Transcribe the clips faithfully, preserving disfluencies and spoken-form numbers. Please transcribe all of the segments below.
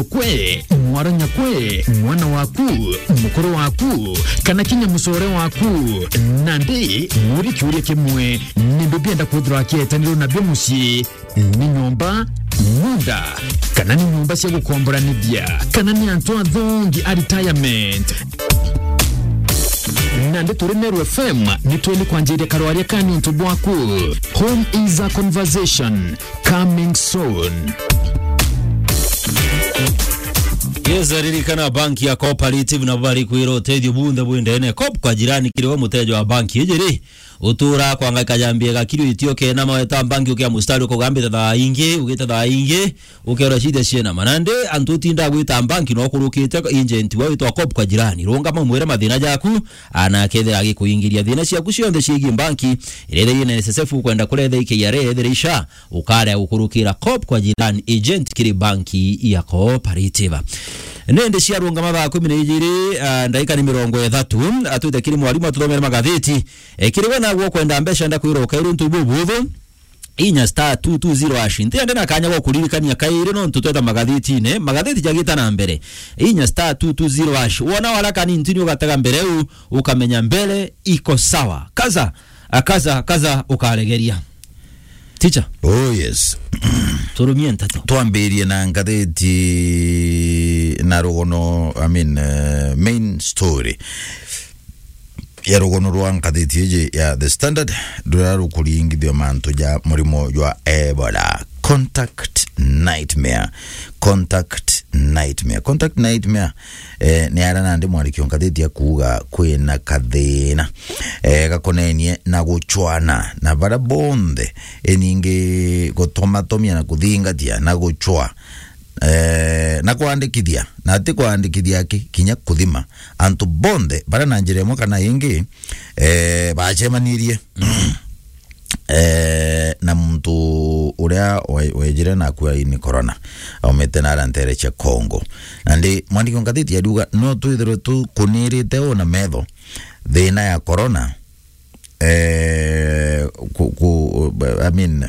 Kwe, mwara nyakwe, mwana waku, mukuru waku, kana kinya mucore waku, nandi muri kiuria kimwe, nimbi bienda kwithirwa akietanirwo nabio mucii? Ni nyomba, munda, kana ni nyomba cia gukomboranithia, kana ni antu athongi a retirement? Nandi turi Meru F M, ni tweli kwanjiria karwaria ka niuntu bwaku. Home is a conversation. Coming soon. Yes, ririkana banki ya Cooperative nabo bari kwira utethio bunthe bwi ndene. Coop kwa jirani kiri we muteja wa banki iji ri, utura kwangaika jambia gakiri itio kena maweta banki ukia mustari ukugambite thaa ingi, ugite thaa ingi, ukeora ciithia ciena manande, antu utinda gwita banki no kurukite agent wa witwa Coop kwa jirani. Rungama umwire mathina jaku, ana akethira agikuingiria thina ciaku cionthe ciegie banki, iria itheri na N S S F ukwenda kuretha i K R A, ethira i SHA, ukarea gukurukira Coop kwa jirani agent kiri banki ya Cooperative. Nende ciarungama thaa kumi na ijiri, ah, ndaika ni mirongo ithatu, atwite kiri mwarimu atuthomere magatheti. Eh, kiri we nagwo ukwenda mbeca ndakwira ukaira untu bubuthu, inya star two two zero hash. Ntiende na kanya gwa kuririkania kairi nontu tweta magatheti-ine, magatheti jagita na mbere. Inya star two two zero hash. Wona wala kanintini ugatega mbere u, ukamenya mbere iko sawa. Kaza, akaza, kaza ukaregeria. Teacher. Oh, yes. Turumie nteto. Twambirie na ngatheti na rugono, I mean, eh, main story ya rugono rwa ngatheti iji ya The Standard, ruria rukuringithio mantu ja murimo jwa Ebola. Contact nightmare. Contact nightmare. Contact nightmare, eh, ni ara nandi mwandiki wa ngatheti akuuga kwina kathina, eh, gakonenie na guchwana na bara bonthe, iningi gutomatomia na kuthingatia na guchwa, eh, na kwandikithia, na ti kwandikithia aki, kinya kuthima antu bonthe bara na njira imwe kana ingi, eh, bacemanirie eh, na muntu uria we-, wejire na akua ni corona, aumite na ara ntere cia Congo. Na ndi mwandiki wa ngatheti ariuga, no twithirwe tukunirite u na metho thina ya corona, eh, ku-, ku-, I mean,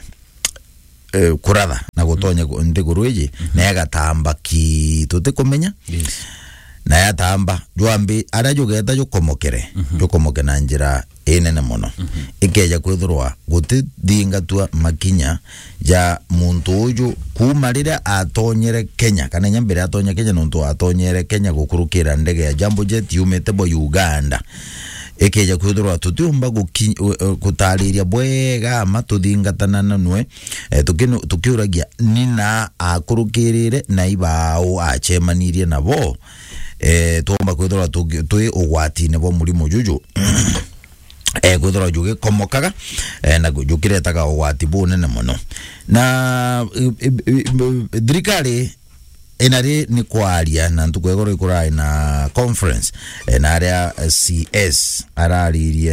eh, kuratha na gutonya ku-, nthiguru iji, na igatamba ki tutikumenya. Yes. Na yatamba, jwambi, aria jugeta jukomokere, jukomoke na njira inene mono. Ikeja kwithirwa gutithingatwa makinya ja muntu uju kuuma riria atonyere Kenya, kana inya mbere atonya Kenya, nontu atonyere Kenya gukurukira ndege ya Jambo Jet yumite bo Uganda. Ikeja kwithirwa tutiumba guki-, u-, u-, gutariria bwega ama tuthingatana na nwe, eh, tukinu-, tukiuragia nina akurukirire na ibau acemanirie nabo, eh, twomba kwithirwa tuki-, twi ugwatine bwa murimo juju. Eh, kwithirwa jugikomokaga, eh, na jukiretaga ugwati bunene mono. Na, i-, i-, i-, i-, thirikari inari ni kwaria na ntuku ya igoro ikurai na conference, eh, na aria, eh, C S araririe